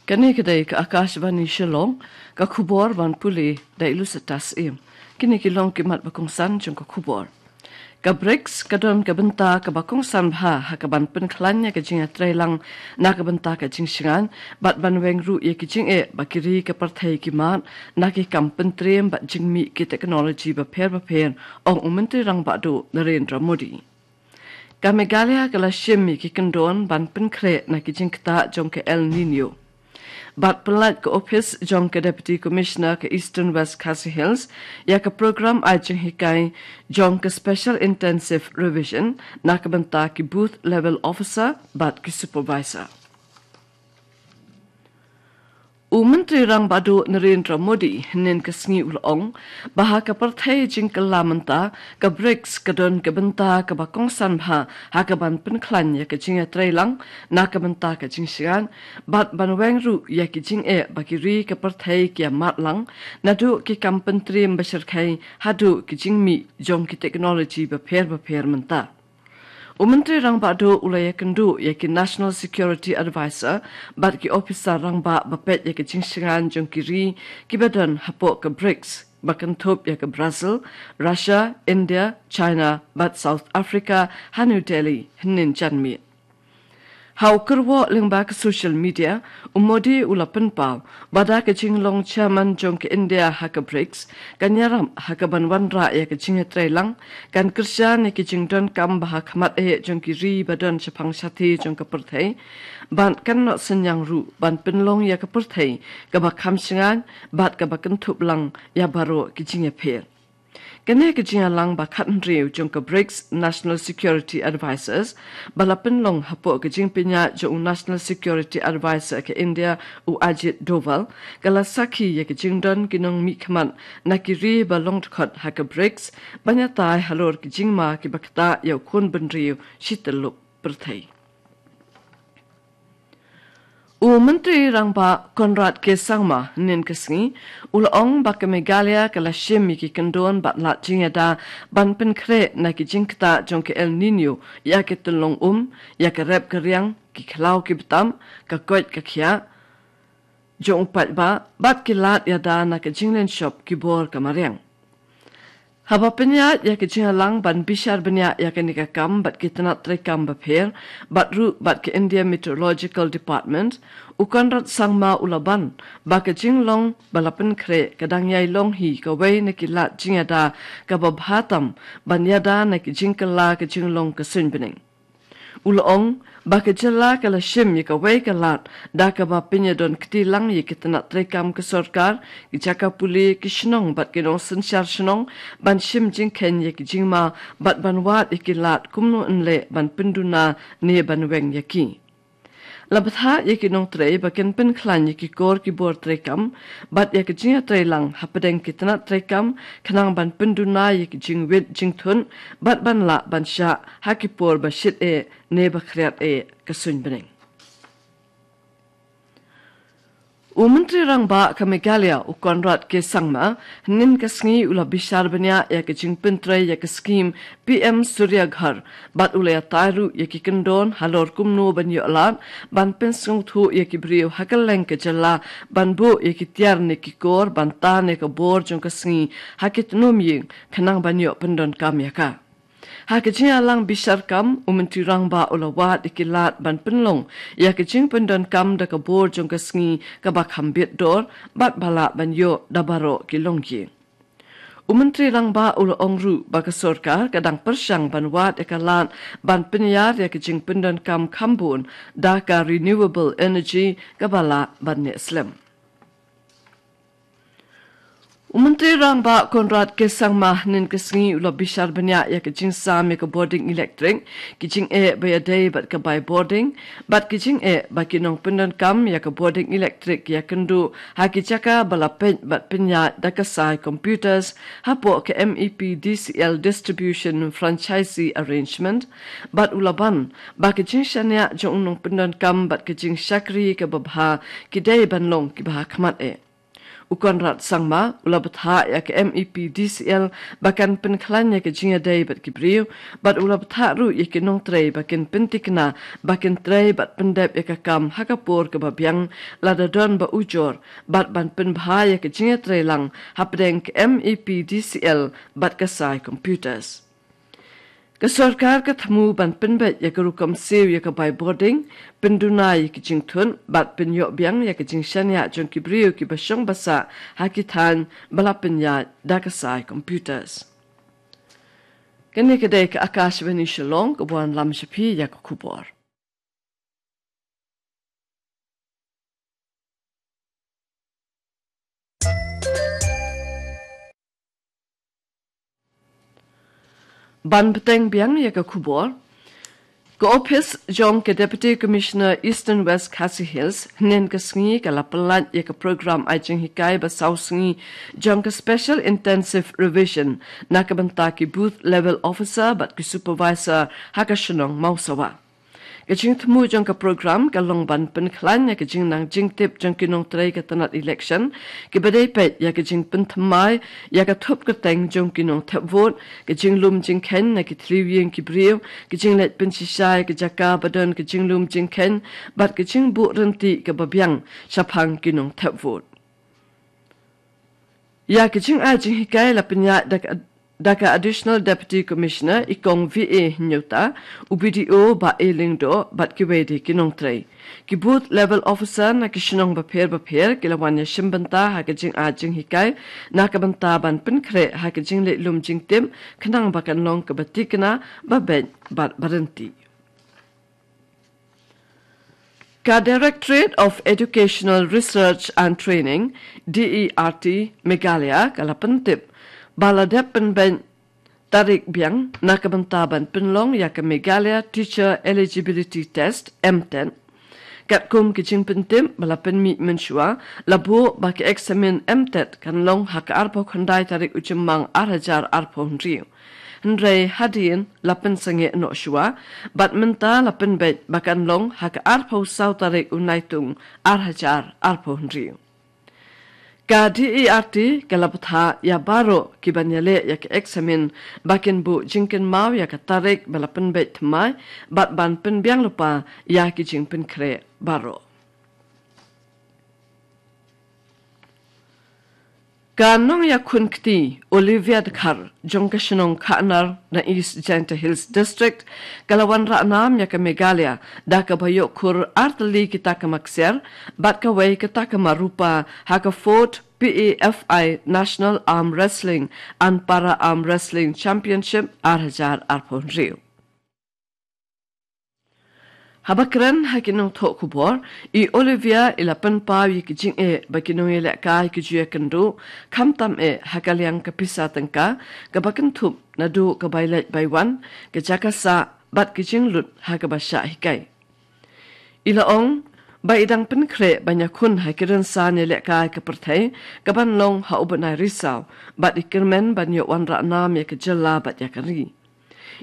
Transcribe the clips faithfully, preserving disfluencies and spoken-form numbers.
Kane ka dei ka Akashvani Shillong, ka khubor ban pule da i Lusitas Im. Kine ki long ki mat ba kongsan jong ka khubor. Ka brics ka don ka bynta kaba kongsan bha ha kaban pynkhlaiñ ïa ka jingïatreilang na ka bynta ka jingshngaiñ, bad ban weng ruh ïa ki jingeh ba ki ri ka pyrthei ki mad na ki kam pyntriem bad jingmih ki technology bapher bapher, ong u Myntri Rangbah Duh Narendra Modi. Ka Meghalaya ka la shim ïa ki kyndon ban pynkhreh na ki jingktah jong ka El Nino. Bad pynlait ka ophis jong ka Deputy Commissioner ka Eastern West Khasi Hills ïa ka program ai jinghikai jong ka Special Intensive Revision na ka bynta ki Booth Level Officer bad ki Supervisor. U Myntri Rangbah Duh Narendra Modi hynnin ka sngi u la ong ba ha ka pyrthei jingkylla mynta, ka brics ka don ka bynta kaba kongsan bha ha kaban pynkhlaiñ ïa ka jingïatreilang na ka bynta ka jingshngaiñ, bad ban weng ruh ïa ki jingeh ba ki ri ka pyrthei ki ïa mad lang, naduh ki kam pyntriem bashyrkhei haduh ki jingmih jong ki technology bapher bapher mynta. U Myntri Rangbah Duh u la ïakynduh ïa ki National Security Advisor bad ki ophisar rangbah ba peit ïa ka jingshngaiñ jong ki ri kiba don hapoh ka brics, ba kynthup ïa ka Brazil, Russia, India, China bad South Africa ha New Delhi hynnin janmiet. Ha u kyrwoh lyngba ka social media, u Modi u la pynpaw ba da ka jinglong chairman jong ka India ha ka brics, kan ïarap ha kaban wanrah ïa ka jingïatreilang, kan kyrshan ïa ki jingdonkam ba ha khmat eh jong ki ri ba don shaphang shathie jong ka pyrthei, bad kan noh synñiang ruh ban pynlong ïa ka pyrthei kaba kham shngaiñ bad kaba kynthup lang ïa baroh ki jingïapher. Kane ka jingïalang ba khathynriew jong ka brics National Security Advisors, ba la pynlong hapoh ka jingpynïaid jong u National Security Advisor ka India, u Ajit Doval, ka la sakhi ïa ka jingdon ki nongmihkhmat na ki ri ba long dkhot ha ka brics, ban ïatai halor ki jingma kiba ktah ïa u khun bynriew shi tyllup pyrthei. U Myntri Rangbah Conrad K Sangma hynnin ka sngi u la ong ba ka Meghalaya ka la shim ïa ki kyndon bad lad jingïada ban pynkhreh na ki jingktah jong ka El Nino, ïa ki tyllong um, ïa ka rep ka riang, ki khlaw ki btam, ka koit ka khiah jong u paidbah, bad ki lad ïada na ka jinglynshop ki bor ka mariang. Haba pynïaid ïa ka jingïalang ban bishar bniah ïa kane ka kam bad ki tnat treikam bapher, bad ruh bad ka India Meteorological Department, u Conrad Sangma u la ban ba ka jinglong ba la pynkhreh ka dang ïai long hi kawei na ki lad jingïada kaba bha tam ban ïada na ki jingkylla ka jinglong ka suiñ bneng. U la ong ba ka jylla ka la shim ïa kawei ka lad da kaba pynïadon kti lang ïa ki tnat treikam ka sorkar, ki jaka pule, ki shnong bad ki nongsynshar shnong, ban shim jingkheiñ ïa ki jingma bad ban wad ïa ki lad kumno yn leh ban pynduna ne ban weng ïa ki. La bthah ïa ki nongtrei ba kin pynkhlaiñ ïa ki kor ki bor treikam bad ïa ka jingïatreilang hapdeng ki tnat treikam, khnang ban pynduna ïa ki jingwit jingthun bad ban lah ban shah ha ki por ba shit eh ne ba khriat eh ka suiñ bneng. U Myntri Rangbah ka Meghalaya, u Conrad K Sangma, hynnin ka sngi u la bishar bniah ïa ka jingpyntrei ïa ka skhim P M Surya Ghar, bad u la ïatai ruh ïa ki kyndon halor kumno ban ïoh lad ban pynsngewthuh ïa ki briew ha kylleng ka jylla ban buh ïa ki tiar ne ki kor ban tan ïa ka bor jong ka sngi ha ki tnum ïing, khnang ban ïoh pyndonkam ïa ka. Ha ka jingïalang bishar kam, u Myntri Rangbah u la wad ïa ki lad ban pynlong ïa ka jingpyndonkam da ka bor jong ka sngi kaba kham bit dor bad ba lah ban ïoh da baroh ki longïing. U Myntri Rangbah u la ong ruh ba ka sorkar ka dang pyrshang ban wad ïa ka lad ban pynïar ïa ka jingpyndonkam kham bun da ka renewable energy kaba lah ban neh slem. U Myntri Rangbah Conrad K Sangma hynnin ka sngi u la bishar bniah ïa ka jingsam ïa ka bording elektrik, ki jingeh ba ïadei bad ka bai bording, bad ki jingeh ba ki nongpyndonkam ïa ka bording elektrik ïakynduh ha ki jaka ba la peit bad pynïaid da ka sai computers hapoh ka M E P D C L Distribution Franchisee Arrangement, bad u la ban ba ka jingshaniah jong u nongpyndonkam bad ka jingshakri kaba bha ki dei ban long kiba ha khmat eh. U Conrad Sangma u la bthah ïa ka M E P D C L ba kan pynkhlaiñ ïa ka jingïadei bad ki briew, bad u la bthah ruh ïa ki nongtrei ba kin pyntikna ba kin trei bad pyndep ïa ka kam ha ka por kaba biang lada don ba ujor, bad ban pynbha ïa ka jingïatreilang hapdeng ka M E P D C L bad ka Sai Computers. Ka sorkar ka thmu ban pynbeit ïa ka rukom siew ïa ka bai bording, pynduna ïa ki jingthut, bad pynïoh biang ïa ka jingshaniah jong ki briew kiba shong ba sah ha ki thaiñ ba la pynïaid da ka Sai Computers. Kane ka dei ka Akashvani Shillong kaba wanlam sha phi ïa ka khubor. Ban bteng biang ïa ka khubor. Ka ophis jong ka Deputy Commissioner Eastern West Khasi Hills, hynnin ka sngi ka la pynlait ïa ka program ai jinghikai ba saw sngi jong ka Special Intensive Revision na ka bynta ki Booth Level Officer bad ki Supervisor ha ka shnong Mawsawa. Ka jingthmu jong ka program ka long ban pynkhlaiñ ïa ka jingnang jingtip jong ki nongtrei ka tnat election, kiba dei peit ïa ka jingpynthymmai ïa ka thup kyrteng jong ki nongthep vote, ka jinglum jingkheiñ na ki thliew ïing ki briew, ka jingleit pynshisha ïa ka jaka ba don ka jinglum jingkheiñ, bad ka jingbuh rynti kaba biang shaphang ki nongthep vote. Ïa ka jingai jinghikai la pynïaid da ka, da ka Additional Deputy Commissioner i Kong V A Hynñiewta, u B D O Bah A Lyngdoh, bad kiwei de ki nongtrei. Ki Booth Level Officer na ki shnong bapher bapher ki la wan ïashim bynta ha ka jingai jinghikai na ka bynta ban pynkhreh ha ka jingleit lum jingtip, khnang ba kan long kaba tikna, ba beit bad ba rynti. Ka Directorate of Educational Research and Training, D E R T, Meghalaya, ka la pyntip ba la dep pynbeit tarik biang na ka bynta ban pynlong ïa ka Meghalaya Teacher Eligibility Test, M TET. Katkum ki jingpyntip ba la pynmih mynshuwa, la buh ba ka eksamin M TET kan long ha ka arphew khyndai tarik u Jymmang ar hajar arphew hynriew. Hynrei hadien la pynsangeh noh shuwa, bad mynta la pynbeit ba kan long ha ka arphew saw tarik u Naitung ar hajar arphew hynriew. Ka D E R T ka la bthah ïa baroh kiban ïaleh ïa ka eksamin ba kin buh jingkynmaw ïa ka tarik ba la pynbeit thymmai, bad ban pynbiang lypa ïa ki jingpynkhreh baroh. Ka nongïakhun kti Olivia Dkhar jong ka shnong Khahnar na East Jaintia Hills District, ka la wanrah nam ïa ka Meghalaya da kaba ïoh khur ar tylli ki takma ksiar bad kawei ka takma rupa ha ka fourth P A F I National Arm Wrestling and Para Arm Wrestling Championship ar hajar arphew hynriew. Haba kren ha ki nongthoh khubor, i Olivia i la pynpaw ïa ki jingeh ba ki nongïalehkai ki ju ïakynduh, khamtam eh ha ka liang ka pisa tyngka kaba kynthup naduh ka bai leit bai wan, ka jaka sah, bad ki jinglut ha kaba shah hikai. I la ong ba i dang pynkhreh ban ïakhun ha ki rynsan ïalehkai ka pyrthei kaban long ha u bnai Risaw, bad i kyrmen ban ïoh wanrah nam ïa ka jylla bad ïa ka ri.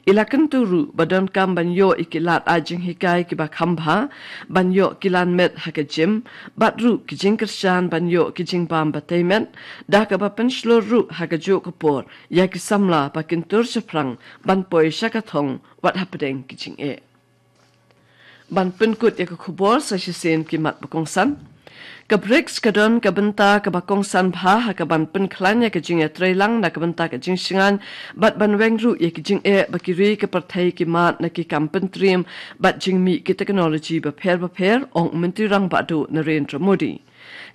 I la kyntu ruh ba donkam ban ïoh ïa ki lad ai jinghikai kiba kham bha, ban ïoh ki lan met ha ka gym, bad ruh ki jingkyrshan ban ïoh ki jingbam ba tei met, da kaba pynshlur ruh ha kajuh ka por ïa ki samla ba kin tur shaphrang ban poi sha ka thong wat hapdeng ki jingeh. Ban pynkut ïa ka khubor sa shisien ki mat ba kongsan. Ka BRICS ka don ka bynta kaba kongsan bha ha kaban pynkhlaiñ ïa ka jingïatreilang na ka bynta ka jingshngaiñ, bad ban weng ruh ïa ki jingeh ba ki ri ka pyrthei ki mad na ki kam pyntriem bad jingmih ki technology bapher bapher, ong u Myntri Rangbah Duh Narendra Modi.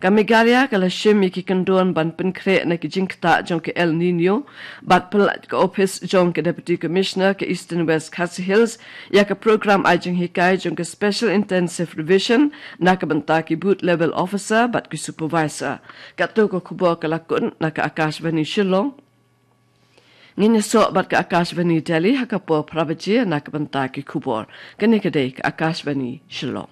Ka Meghalaya ka la shim ïa ki kyndon ban pynkhreh na ki jingktah jong ka El Nino, bad pyllait ka ophis jong ka Deputy Commissioner ka Eastern West Khasi Hills ïa ka program ai jinghikai jong ka Special Intensive Revision na ka bynta ki Booth Level Officer bad ki Supervisor. Katto ka khubor ka la kut na ka Akashvani Shillong. Ngin ïasoh bad ka Akashvani Delhi ha ka por phra baje na ka bynta ki khubor. Kane ka dei ka Akashvani Shillong.